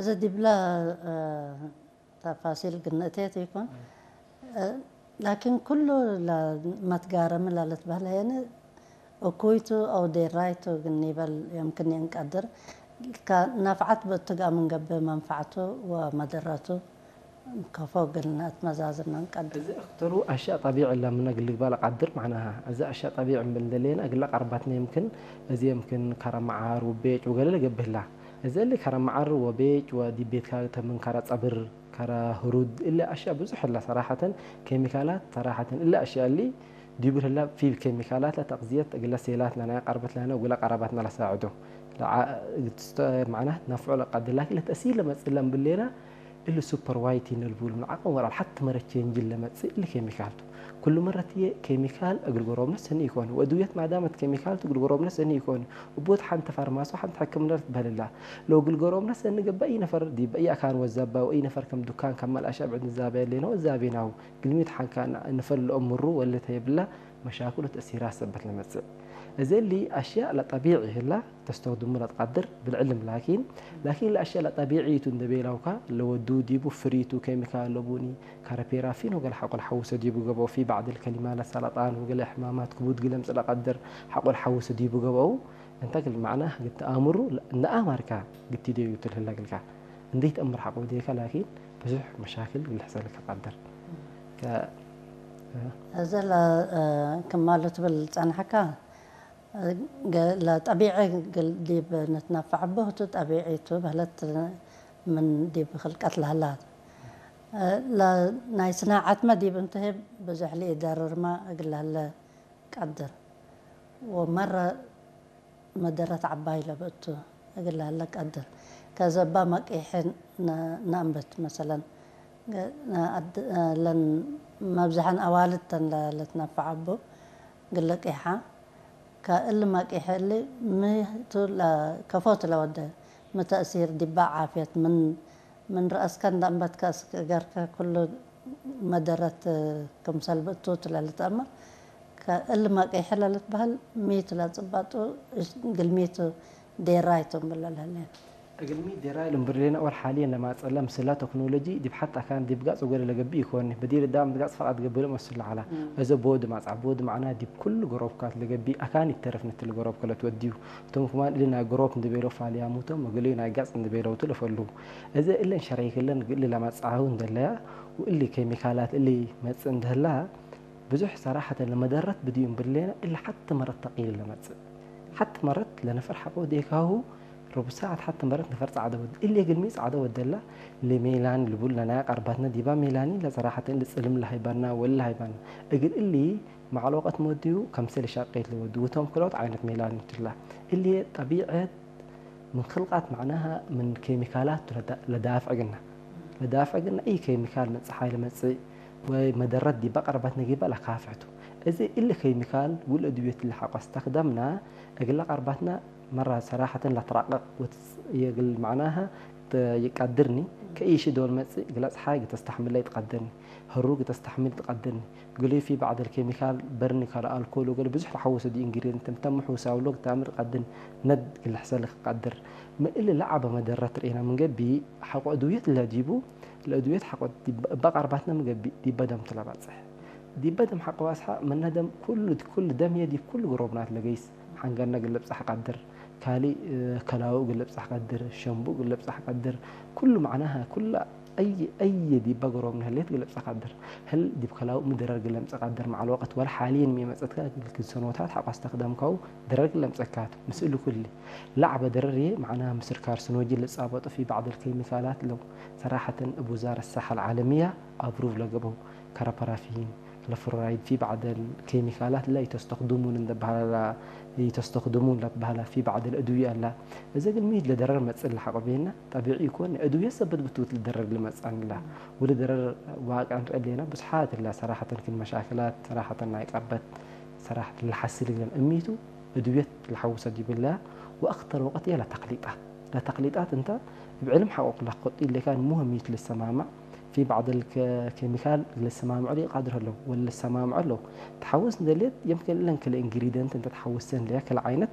እዚ ዲብላ ተፋሲል ግንእቴት ይኮን ላኪን ኩሉ መትጋረሚ ላለትበህለ የነ እኩይቱ ኣው ዴራይቱ ግን ይበል የምክን የንቀድር ናፍዓት በትጋ ምንገብ መንፋዕቱ ወመደረቱ ከፎ ግልነት መዛዝና ንቀድር። እዚ እክተሩ ኣሻ ጠቢዕ ለምነ ግልግባል ቀድር ማዕናሃ። እዚ ኣሻ ጠቢዕ እምብል እንደሌና እግለ ቀርባትና የምክን እዚ የምክን ከረመዓር ውቤጭ ወገለ ለገብህላ። እዚ እሊ ከረመዓር ወቤጭ ወዲቤትካ ተምን ከረ ጸብር ከረ ህሩድ እሊ ኣሻ ብዙሕ እላ ሰራሐተን ኬሚካላት ሰራሐተን እሊ ኣሻ እሊ ዲቡ ህላ ፊ ኬሚካላት ለተቕዝየት እግለ ሴላት ለናያ ቀርበት ለነ ወግለ ቀረባትና ለሳዕዶ። ማዕና ነፍዖ ለቀድር ላኪን ለተእሲር ለመጽእ ለምብሌና እሊ ሱፐር ዋይት ይነልቡሉ ዓቐን ወራል ሓቲ መረ ቼንጅ ለመጽእ እሊ ኬሚካል ቱ። ኩሉ መረት እየ ኬሚካል እግል ጎሮብነ ሰኒ ይኮን ወእድውየት ማዳመት ኬሚካል ቱ እግል ጎሮብነ ሰኒ ይኮን። እቦት ሓንቲ ፋርማሲ ሓንቲ ሕክምና ትበህልላ ለው እግል ጎሮብነ ሰኒ ገባ እይ ነፈር ዲበ እይ ኣካን ወዛባ ወእይ ነፈር ከም ዱካን ካብ መልኣሻ ብዕድ ንዛበ የሌና ወዛቤናው ግልሚት ሓንካ ንፈልኦ ምሩ ወለተ የብላ መሻክሉ ተእሲራ ሰበት ለመጽእ። እዚ እሊ ኣሽያእ ለጠቢዕ ይህላ ተስተኽድሙ ለትቀድር ብልዕልም ላኪን ላኪን ለኣሽያእ ለጠቢዕይቱ እንደ ቤላውካ ለወዱ ዲቡ ፍሪቱ ኬሚካል ለቡኒ ካረፔራፊን ወገል ሓቆ ለሓውሰ ዲቡ ገበው ፊ ባዕድ ልከሊማ ለሰለጣን ወገለ ሕማማት ክቡድ ግለምጽ ለቀድር ሓቆ ለሓውሰ ዲቡ ገበው እንተ ግል ማዕና ግቲ ኣእምሩ ነኣማርካ ግቲ ደዩ ትልህለ ግልካ እንዴት እምር ሓቆ ዴካ ላኪን ብዙሕ መሻክል ግልሕሰልካ ቀድር እዘ ክማሉ ትብል ጸንሐካ ለጠቢዐ ዲብ ንትነፈዐ ቦህቱ ጠቢዒቱ በህለት ምን ዲብ ክልቀት ለህላት ናይ ስናዓትመ ዲብ እንትህብ ብዙሕ ሊኢደርርማ እግል ለህለ ቀድር ወመረ መደረት ዓባይ ለብእቱ እግል ለህለ ቀድር ከዘባ መቂሐ ነእንበት መሰለን ለን መብዝሐን ኣዋልድ ተን ለትነፈዐ ቦ ግለቂሓ ከእል ማቂሐ እሊ ምቱ ከፎት ለወደ ምተእሲር ዲባ ዓፍየት ምን ምን ረአስከ እንዳንበትከ እስክ እገርከ ኩሉ መደረት ክምሰል ብእቱ ትለልትአመር ከእል ማቂሐ ለልትበህል ሚቱ ለጽባጡ ግልሚቱ ዴራይቱ እምብለ ለህሌን። እግልሚ ዴራይ ልምብርሌና ኦር ሓልየን ለማጸላ ምስላ ተክኖሎጂ ዲብ ሓት ኣካን ዲብ ጋጽ ወገለ ለገብእ ይኮኒ። በዲር ዳም ጋጽ ፈቃድ ገብለ መስል ለዓላ። እዘ ቦድ ማጽዓ ቦድ ማዕና ዲብ ኩሉ ገሮብካት ለገብእ ኣካን ይተረፍ ንትል ገሮብ ከለት ወድዩ። እቶም ክማን እሊ ናይ ገሮብ እንድቤሎ ፋልያሙቶም ወገለዩ ናይ ጋጽ እንድቤለውቱ ለፈሉ። እዘ እለን ሸረይክለን ግእሊ ለማጽዓሁ እንደለያ ወእሊ ኬሚካላት እሊ መጽእ እንደህላ ብዙሕ ሰራሐተ ለመደረት ብድዩ እምብሌና እሊ ሓቲ መረት ተቂል ለመጽእ። ሓቲ መረት ለነፈር ሓቆ ዴካሁ ረቡ ሰዓት ሓቲ መረት ነፈር ጻዕደ ወድ እሊ ግልሚ ጻዕደ ወደላ ለሜላን ልቡል ለናያ ቀርባትና ዲባ ሜላኒ ለሰራሐተ እሊ ጽልም ለሃይባና ወል ለሃይባና እግል እሊ ማዕሎቀት መድዩ ከምስል ሻቀይት ለወዱ ውቶም ክሎት ዓይነት ሜላኒ ትላ እሊ ጠቢዐት ምን ክልቃት ማዕናሃ ምን ኬሚካላት ለዳፍዕ ግና ለዳፍዕ ግና እይ ኬሚካል መጽእ ሓይለ መጽእ ወይ መደረት ዲባ ቀርባትና ጊባ ለካፍሕቱ። እዚ እሊ ኬሚካል ውል እድብዮት ለሓቆ ኣስተክደምና እግላ ቀርባትና መራ ሰራሐትን ለትራቀቅ ወትስ የግል ማዕናሃ ይቀድርኒ ከእይሽ ዶል መጽእ እግላ ጸሓይ ግተስተሕምላ ይትቀድርኒ ህሩ ግተስተሕምል ይትቀድርኒ ግሉይ ፊ ባዕድ ኬሚካል በርኒ ካልኦ ኣልኮል ወገለ ብዙሕ ተሓወሰ ዲ ኢንግሪድንት እንተ ምሕውሳው ሎግ ታምር ቀድን ነድ ግልሕሰል ክቀድር ምእሊ ለዓበ መደረት ርኢና ምንገቢ ሓቆ እድውየት ለዲቡ ለእድውየት ሓቆ እባ ቀርባትና ምገቢ ዲበ ደም ትለባጽሕ ዲበ ደም ሓቆ ባስሓ መነ ደም ኩሉ ኩሉ ደም የዲ ኩሉ ግሮብናት ለገይስ ሓንገርና ግለብጻሕ ቀድር ካሊ ከላው ግለብጻሕ ቀድር ሸምቡ ግለብጻሕ ቀድር ኩሉ ማዕናሃ ኩላ أي أي ዲባ ገሮም ንህሌት ግለብጻ ቀድር ህል ዲብ ከላው ምድረር ግለምጻ ቀድር ማዕል ወቀት ወላ ሓሊን ሚመጸትካ ግልክል ሰኖታት ሓቋስ ተክደምካው ድረር ግለምጸካት ምስእሉ ኩሊ ለዓበ ድረር እየ ማዕና ምስር ካርሲኖጂ ልጻበጡ ፊ ባዕድ ኬሚካላት ለው ሰራሐተን እብ ውዛረት ሳሐ ልዓለምያ ኣብሩቭ ለገበው ከረ ፓራፊን ለፍሎራይድ ፊ ባዕድ ኬሚካላት ላ ይተስተክድሙን እንደበሃላ ይተስተክድሙን ለትበሃላ ፊ ባዕድ ኣድውያ ኣላ እዘ ግን ሚድ ለደረር መጽእ ለሓቆ ቤና ጠቢዒ ይኮን ኣድውያ ሰበት ብትውት ልደረር ልመጽኣን ላ ወለ ደረር ዋቅዕ ንርኢ ኣለና ብዙሓት ላ ሰራሐተን ክን መሻክላት ሰራሐተን ናይ ቀርበት ሰራሕት ለሓስል ግለን እሚቱ እድውየት ለሓውሰ ዲብላ ወኣክተር ወቀት እያ ለተክሊጣት ለተክሊጣት እንተ ብዕልም ሓቆ ክላኮጥ ኢሌካ ንሙህ ሚት ልሰማማዕ ፊ ባዕድ ኬሚካል ልሰማምዑ ሊቃድር ኣለዉ ወለ ልሰማምዑ ኣለዉ ተሓውስ እንደሌት የምክን እለን ክለ ኢንግሪደንት እንተ ተሓውሰን ለያ ክለ ዓይነት